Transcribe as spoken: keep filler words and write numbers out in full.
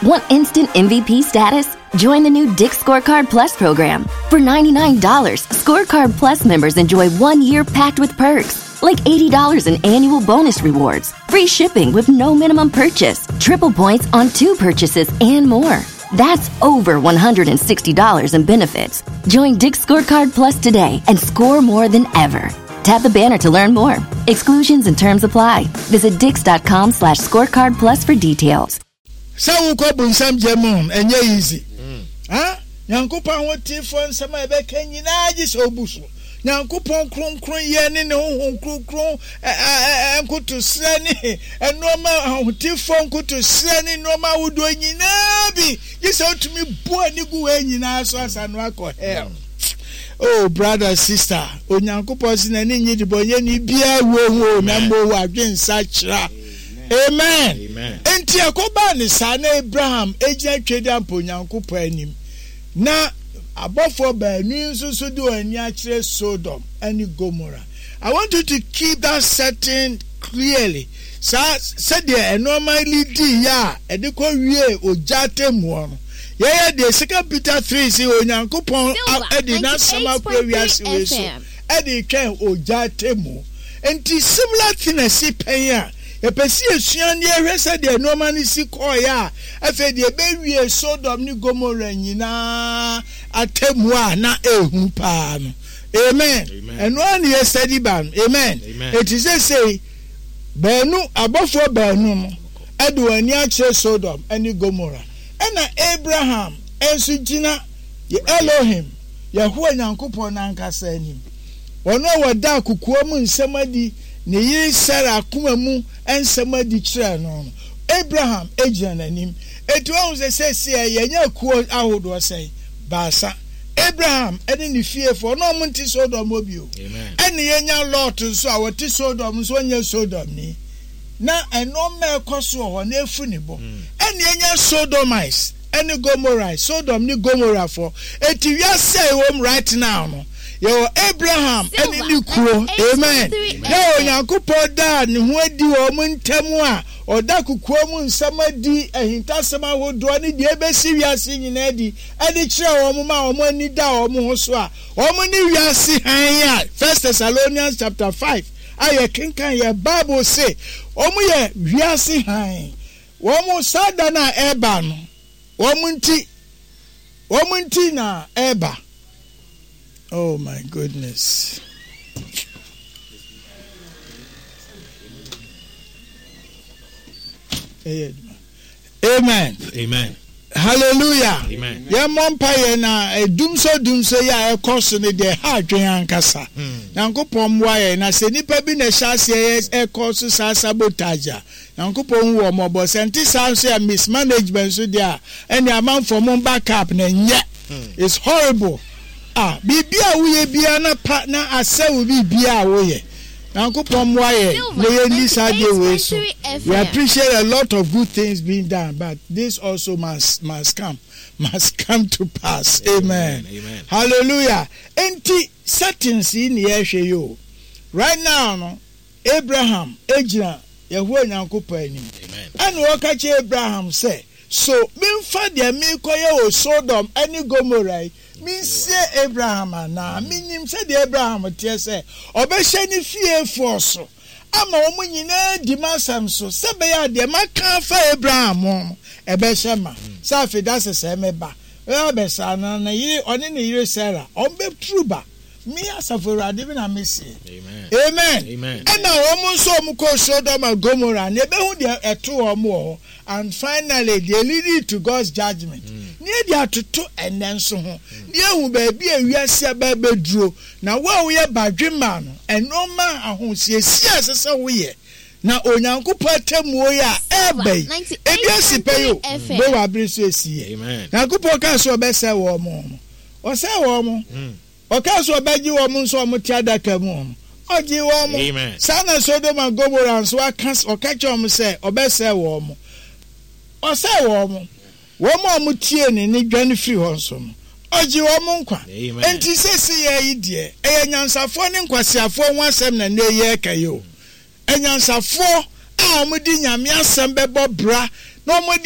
Want instant M V P status? Join the new Dick's Scorecard Plus program. For ninety-nine dollars, Scorecard Plus members enjoy one year packed with perks, like eighty dollars in annual bonus rewards, free shipping with no minimum purchase, triple points on two purchases, and more. That's over one hundred sixty dollars in benefits. Join Dick's Scorecard Plus today and score more than ever. Tap the banner to learn more. Exclusions and terms apply. Visit dicks dot com slash scorecard plus for details. Sɛ wokɔ bonsam gya mu, ɛnyɛ easy. Ha Nyankopɔn ahotefoɔ nsɛm a ɛbɛka nyinaa gye sɛ wobu so. Nyankopɔn kronkron yɛ ne ne Honhom Kronkron nkotosrɛ ne nneɛma, ahotefoɔ nkotosrɛ ne nneɛma ahodoɔ nyinaa bi gye sɛ wotumi bu ani gu wɔ nyinaa so asa no akɔ hell. Oh, brother, sister, Onyankopɔn si n'ani nye de bɔ nyɛ ni biara wo ho na mo wɔ adwensa kyerɛ. Amen. Nti ɛkɔbaa ne saa na Abraham egyina twɛdi ampa Onyankopɔn anim na abɔfoɔ baanu yi nso so de wɔn ani akyerɛ Sodom ne Gomora. I want you to keep that setting clearly, saa sɛdeɛ nneɛma lidi yɛ a ɛde kɔ wie ogya atemmuo no. Yɛyɛ deɛ Second Peter three si Onyankopɔn ɛde n'asɛm akɔ wiase wei so ɛde twɛn ogya atemmuo. Nti similar thing ɛsi pɛn a yɛpɛ si esua ne yɛhwɛ sɛdeɛ nneɛma no si kɔɔeɛ a afei deɛ ɛbɛwie Sodom ne Gomora nyinaa atemmuo a na ehu paa no. Amen. Ɛno ara ne yɛ study ba no. Amen. Eti sesei baanu, abɔfoɔ baanu no ɛde wɔn ani akyerɛ Sodom ne Gomora, ɛna Abraham nso gyina yɛ Elohim, Yehowa Nyankopɔn n'ankasa anim, wɔn a wɔda kokoa mu nsɛm adi, ne yere Sarah akoma mu nsɛm adi kyerɛ no no Abraham gyina n'anim. Eti wɔn sɛ sɛsi yɛnyɛ kuo ahodoɔ sɛn baasa: Abraham ɛne ne fiefoɔ na wɔn nte Sodom hɔ bio, ɛne yɛnya Lot nso a wɔte Sodom nso, wɔnyɛ Sodom ni na ɛnɔɔma ɛkɔ so wɔ hɔ na efu ne bɔ, ɛne yɛnya Sodomites ɛne Gomorrah, Sodom ne Gomorrahfoɔ. Eti wiase a ɛwɔ mu right now no, yɛwɔ Abraham ɛne ne kuo. Amen. Yɛwɔ Onyankopɔn daa ne ho adi wɔ wɔn ntam a ɔda kokoa mu nsɛm adi, ahintasɛm ahodoɔ ne deɛ ɛbɛsi wiase nyinaa adi ɛde kyerɛ wɔn ma wɔn ani da wɔn ho so a wɔn ne wiase hann a First Thessalonians chapter five a yɛkenkan yɛ Bible se wɔn yɛ wiase hann. Wɔn saa da no a ɛreba no, wɔn nti wɔn nti na ɛreba. Oh my goodness. Amen. Amen. Hallelujah. Amen. Yɛmmɔ mpa yɛ na dumso dumso yi a ɛkɔ so no deɛ, ha adwene ankasa. Nyankopɔn mmoa yɛn na sɛ nipa bi na ɛhyɛ aseɛ yɛ ɛkɔ so saa sabotage a, Nyankopɔn hu wɔ mmɔbɔ. Sɛ nte saa nso yɛ mismanagement nso deɛ a, ɛne amanfoɔ mo back up na nyɛ. It's horrible. Ah, biribi a woyɛ biara na pa na asɛ wo biribi a woyɛ. Nyankopɔn mmoa yɛn na yɛnni saa deɛ wei so. We appreciate a lot of good things being done, but this also must must come must come to pass. Amen. Amen. Hallelujah. Enti settings yi ne yɛhwɛ yi o. Right now no, Abraham egyina Yehowa Nyankopɔn anim. Amen. Ɛna wɔka kyerɛ Abraham sɛ, so memfa deɛ merekɔyɛ wɔ Sodom ne Gomora yi mensie Abraham anaa? Menim sɛdeɛ Abraham teɛ sɛ ɔbɛhyɛ ne fiefoɔ so ama wɔn nyinaa di m'asɛm so, sɛ bɛyɛ a deɛ maka afa Abraham ho no ɛbɛhyɛ ma sɛ afei da sɛ sɛ mɛba bɛba bɛsaa no na ne yere, ɔne ne yere Sarah, ɔmbɛturu ba. Me asafo Awurade bi na mesie. Amen. Amen. Amen. Ɛna wɔn nso wɔn kɔ Sodom and Gomorrah na ebehu deɛ ɛto wɔn wɔ hɔ, and finally they lead to God's judgment. Ne yɛ de atoto ɛnɛ nso ho ne ehu baabi a wiase aba abɛduro na wo a woyɛ badwemma no, ɛnɔɔma ahosiesie a ɛsɛ sɛ woyɛ na Onyankopɔn atemmuo yi a ɛɛba yi ebi esi pɛ yi o Noa abere so esi yɛ. Amen. Nyankopɔn kaa sɛ ɔbɛsɛ wɔn no, ɔsɛ wɔn mo. Ɔkaa sɛ ɔbɛgye wɔn nso a wɔte adaka mu no, ɔgye wɔn mo. Amen. Saa na Sodom and Gomorrah nso aka, ɔka kyerɛ wɔn sɛ ɔbɛsɛe wɔn mo, ɔsɛe wɔn mo. Wɔn a wɔtie ne ne dwane firi hɔ nso no, ɔgye wɔn nkwa. Amen. Nti sɛsi yɛ yi deɛ, ɛyɛ nyansafoɔ ne nkwasiafoɔ ho asɛm na ne yɛ ka yi o. Anyansafoɔ a wɔde Nyame asɛm bɛbɔ bra na wɔde